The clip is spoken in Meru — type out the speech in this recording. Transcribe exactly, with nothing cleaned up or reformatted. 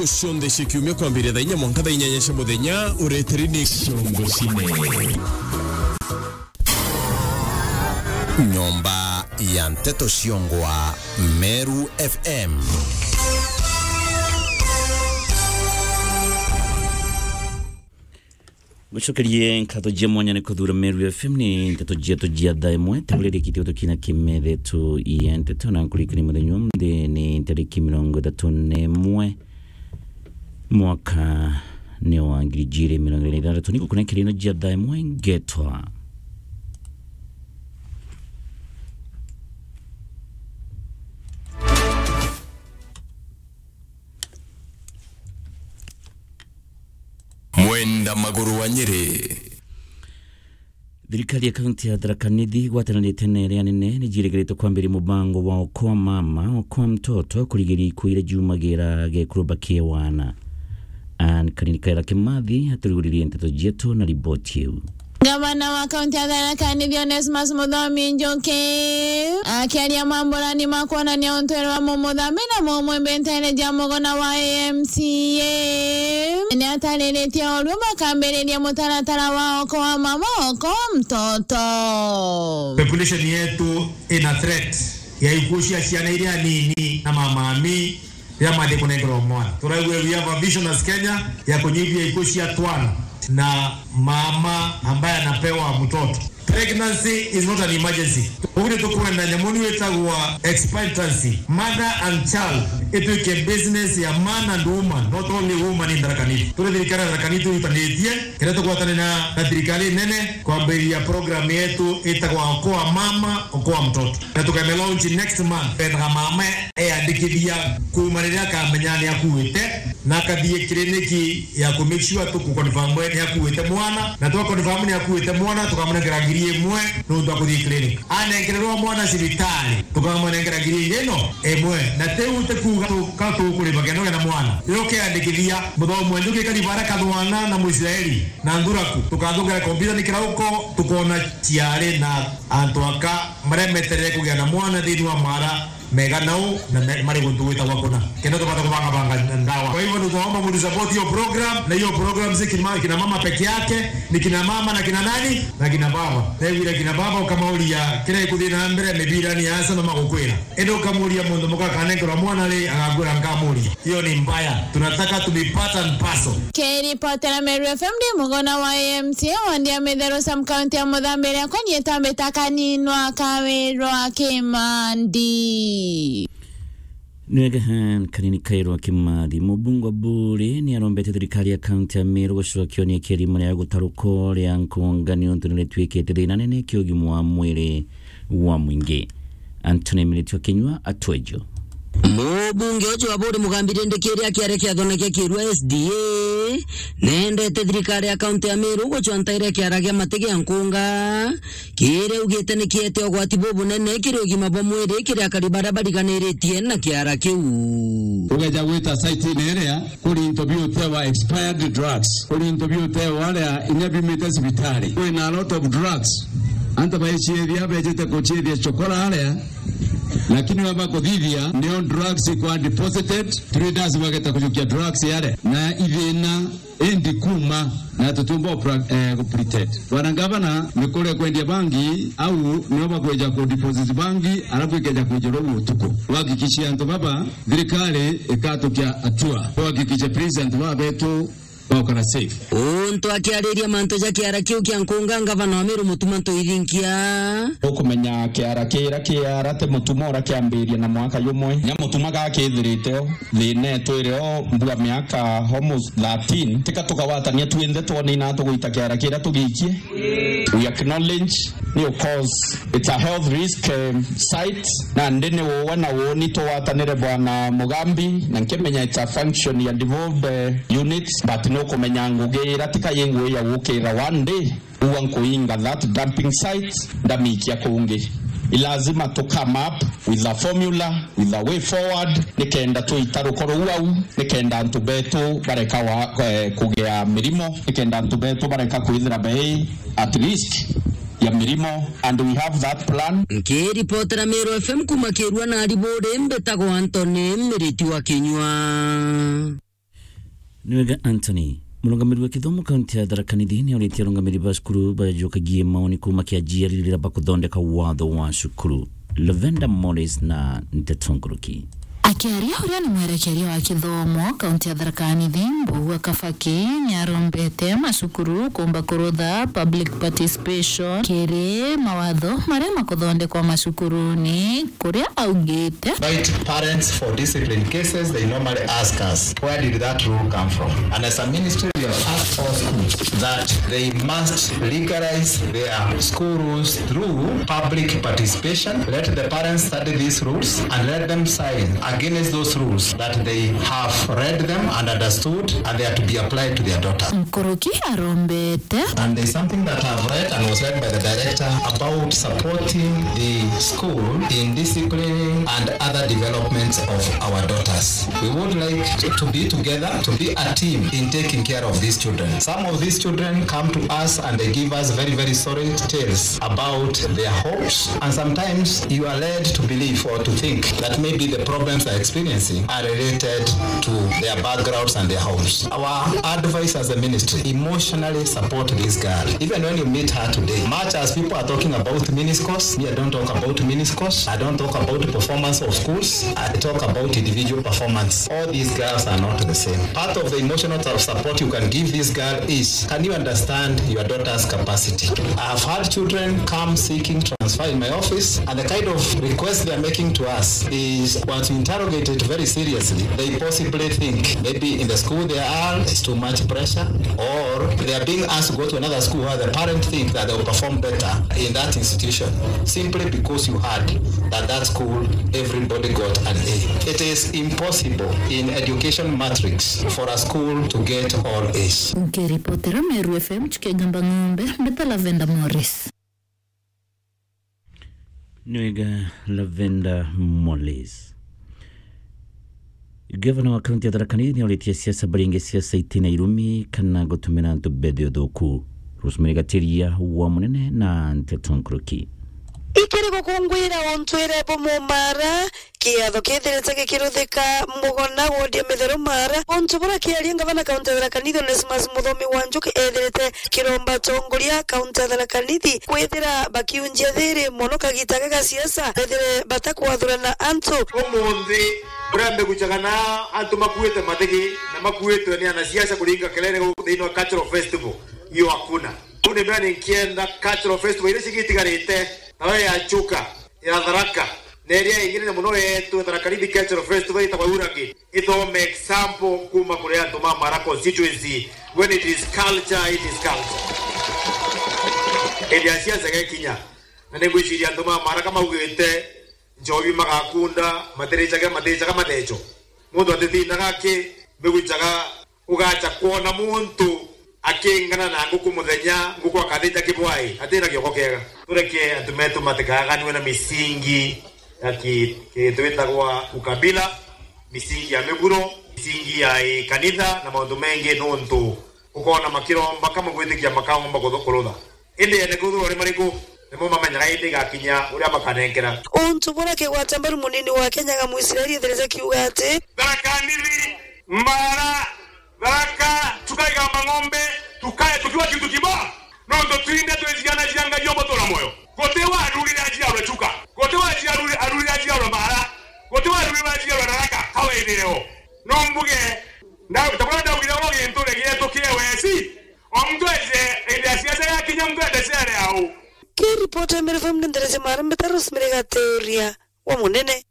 Cionthe cia kiumia kwambiria thaa inya mwanka thaa inyanya cia muthenya, ureteri ni Ciongo Cine. Nyomba ya Nteto Ciongwa, Meru F M. Gucokerie nkatho cia mwanya ni kuthura Meru F M. Ni nteto cietu cia thaa imwe, tuburirikitie gutukina kimethe tu ya nteto na nkurikani muthenya umunthi ni tariki mirongo ithatu na imwe, mwaka ni wa ngiri ijiri mirongo iri na ithanthatu. Ni gukunenkeria ino cia thaa imwe ngetwa Mwenda Maguru wa Nyeri. Thirikari ya kaunti ya Tharaka Nithi igwatanirite na iria nene ni ciirigiritwe kwambiria mubango wa Okoa Mama, Okoa Mtoto, kurigiria ikuu iria ciumagira gekuruba kia wana. Ann Kanini Kaira Kimathi aturuguririe nteto cietu na riboti iu. Gavana wa kaunti ya Tharaka Nithi Onesmus Muthomi Njuki akiaria mamburani ma kwonania untwiri wa mumuthambi na mumwimbi nteene cia muguna wa A M C A, ni atariritie urua bakambiriria mutaratara wa Okoa Mama, Okoa Mtoto. Population yetu ina threat ya ikuo cia ciana iria nini na mamami riria mathi kunengerwa mwana. Turaigua we have a vision as Kenya ya kunyihia ikuo cia twana na mama ambaye anapewa mtoto. Pregnancy is not an emergency. Uguo ni tukwenda nyamu ni witagwa expectancy, mother and child, ituike business ya man and woman, not only woman in Tharaka Nithi. Turi thirikari ya Tharaka Nithi turutanitie, kiria tugwatane na, na thirikari nene kwambiriria program yetu itagwa Okoa Mama, Okoa Mtoto. Na tukame launch next month. Twendaga mama eandikithia kuuma riria akamenya ni akuite, na akathie kiriniki ya ku make sure tuku confirm ni akuite mwana, na twa confirm ni akuite mwana, tukamunengera ngiri imwe nuntu akuthie clinic. Anenkererwa mwana cibitari, tukamunengera ngiri ingi ino imwe. Na tiu ti kuuga tu-, ka tukurima kenda ugia na mwana. Riria ukeandikithia, Muthomi wa Njuki kariba aria kathwana na Muisraeli na Nthuraku, tukathungera kompyuta ni kirauko, tukona ciari na antu aka maria meterere kugia na mwana thiini wa mara mega nau na me-, mari guntu gwitagwa kuna. Kenda tubata kubangabanga ndawa. Kwa hivyo, nitaomba mnisapoti hiyo program, na hiyo program si kina, kina mama peke yake, ni kina mama na kina nani? Na kina baba. Tegwira kina baba ukamauria kiria gikuthii na mbere mibirani ya asa no magukwira. Indi ukamuria mundu muka akanenkerwa mwana ri, agakwira nkamuria. Hiyo ni mbaya. Tunataka to be part and parcel. Kiripotera Meru F M ndi mugona wa A M C A wandi ya Mitheru sub county ya Muthambi iria kwani itambita kaninwa kawirwa Kimandi. Nwegehan kanini kairwa Kimathi. Mubunge wa Buri ni arombete thirikari ya kaunti ya Meru gucokia ni kirimo ria gutaruko ria nkunga ni untu ni ritwikite thina nene kia ugima wa mwiri wa mwingi. Anthony Militio Kinyua atwejo. Mubunge ucio wa Buri Mugambi Rindikiri akiaria kiathone kia Kirua S D A, nendete thirikari ya kaunti ya Meru gucwa ntaire kiara gia mati gia nkunga, kiria augite ni kiete ugwati bubunene kiri ugima bwa mwiri kiri akari baria bariganiritie na kiara kiu. Ugeja gwita site-ini iria, kuri into biutewa expired drugs, kuri into biutewa aria inya biumite cibitari. Kwina a lot of drugs. Antu baiciithia, bejite kuciithia chokora aria, lakini wamba kuthithia, nio drugs ikwa deposited, traders bageta kujukia drugs aria. Na ithina indi kuma, na tutiumba kupra-, eh, kupretend. Bwana Gavana, ni kuria kwendia bangi, au nio bakweja kudeposit bangi, alafu ikeja kwijirwa utuku. Tuhakikishie antu baba, thirikari ikatukia hatua. Tuhakikishe please antu baba betu baukara safe. Untu akiariria mantu ja kiara kiu kia nkunga, ngavana wa Meru Mutuma Ntoithinkia. Ukumenya kiara kiria kiara ti Mutuma ura kiambiria na mwaka jumwe. Nya Mutuma gakithirite o, thina itwire o mbua miaka almost thirteen. Tika tukawatania twinthe twone ina tugwita kiara kiria tugiikie. We acknowledge ni, of course, it's a health risk, eh, site, na ndi ni uwe na uuni tuwatanire Bwana Mugambi, na nkimenya it's a function ya devolved, eh, units, but ni ukumenya ngugi ira tika yi ngugi ya gukira one day, uwa nkuinga that dumping site, ndamikia kungi. I lazima to come up with a formula, with a way forward, nikenda tuita rukoro ruu au, nikenda antu betu bareka wa, eh, kugia mirimo, nikenda antu betu bareka kwithira bei at risk ya mirimo, and we have that plan. Nkiripotera Meru F M kuma Kirua na Ariburi, mbitagwa Anthony Miriti wa Kinyua. Niwega Anthony, murungamiri wa kithomo kaunti ya Tharaka Nithi ni auritie arungamiri ba cukuru bajukagie maoni kuuma kiajiari riria bakuthondeka watho wa cukuru. Lavender Morris na Nteto Nkuruki. Akiaria uria ni mwerekeria wa kithomo kaunti ya Tharaka Nithi, Mbugua Kabaki, ni arombete macukuru kuumba kurutha public participation kiri mawatho maria makuthondekwa macukuruni, kuria augite. Invite parents for discipline cases, they normally ask us, "Where did that rule come from?" And as a ministry, we have asked all schools that they must legalize their school rules through public participation. Let the parents study these rules and let them sign against those rules that they have read them and understood and they are to be applied to their daughter. Nkuruki arombete. And there's something that I've read and was read by the director about supporting the school in disciplining and other developments of our daughters. We would like to be together, to be a team in taking care of these children. Some of these children come to us and they give us very, very sorry tales about their homes, and sometimes you are led to believe or to think that maybe the problems they're experiencing are related to their backgrounds and their homes. Our advice as a ministry, emotionally support this girl. Even when you meet her today, much as people are talking about mini scores, me, I don't talk about mini scores. I don't talk about performance of schools. I talk about individual performance. All these girls are not the same. Part of the emotional support you can give this girl is, can you understand your daughter's capacity? I have had children come seeking transfer in my office, and the kind of request they are making to us is, once you interrogate it very seriously, they possibly think maybe in the school they are, there's too much pressure, or they are being asked to go to another school where the parent think that they'll perform better in that institution simply because you heard that that school, everybody got an A. It is impossible in education matrix for a school to get all A's. Nkiripotera Meru F M, Chukegamba Ng'ombe, mbeta Lavender Morris. Niwega Lavender Morris. Gavana wa kaunti ya Tharaka Nithi niauritie siasa baringe siasa itina irumi kana gutumira antu mbethe uthuku. Rosemary Gatiria wa Munene na Nteto Nkuruki. Ikiri gukungwira untwire bumumara, kiatho kithirite gikiruthika Mugona wodi ya Mitheru Mara, untu bura kiaria ngavana kaunti ya Tharaka Nithi Onesmus Muthomi wa Njuki ethirite kiromba atongoria kaunti ya Tharaka Nithi kwithira bakiunjia thiri mono kagita ga gasiasa, bethire batakwathurana antu. Umunthi, uria mbigucaga na antu makuite mathigi na makuitwe ni anasiasa kuringa kelele guku thiini wa cultural festival, iyo hakuna. Uu ni mbere ninkienda cultural festival iria cigitigarite, nayo ya Chuka, ya Tharaka, na iria ingi nene mono yeetwe Tharaka Nithi Cultural Festival itagwa Uragi, ithome example kuuma kuri antu ma Mara constituency. When it is culture, it is culture. Hindi ya siasa gekinya, na ningwiciria antu ma Mara kamaugite, njobi magakunda, matiricaga, matiricaga matheco. Muntu atitindaga aki, mbigucaga ugacha kwona muntu akingana na nguku muthenya, nguku akathija kibwai, atina kioko kiega. Tureke antu metu matikaganue na misingi ya ki-, ki-, twitagwa ukabila, misingi ya miguro, misingi ya, eh, kanitha na maundu mengi, nontu ukona makiromba kama gwitikia makaomba kuthu-, kurutha. Indi ene kwithirwa ni mariku, nimo mamenyaga indi igakinya uria makanenkera. Untu bura kigwata mbaru munini wa Kenya ga Muisraeli ethirite kiuga ati, Tharaka Nithi, Mara, Tharaka, tukaigamba ng'ombe, tukae tukiwa kitu kibwa. Nontu twinde twiciana cia Ngai obo tuna moyo. Guti wa arurire aciarwe Chuka. Guti wa aciarure-, arurire aciarwe Mara. Guti wa arurire aciarwe Tharaka, kawaithireo. No mbuge, nda-, tabura ndaugire oro gintu regietu kiewesi. O muntu eje, indi ya siasa yakinya muntu ende ciare au. Kiripoti ya Meru F M ni nderece Mara mbeta Rosemary Gatiria wa Munene.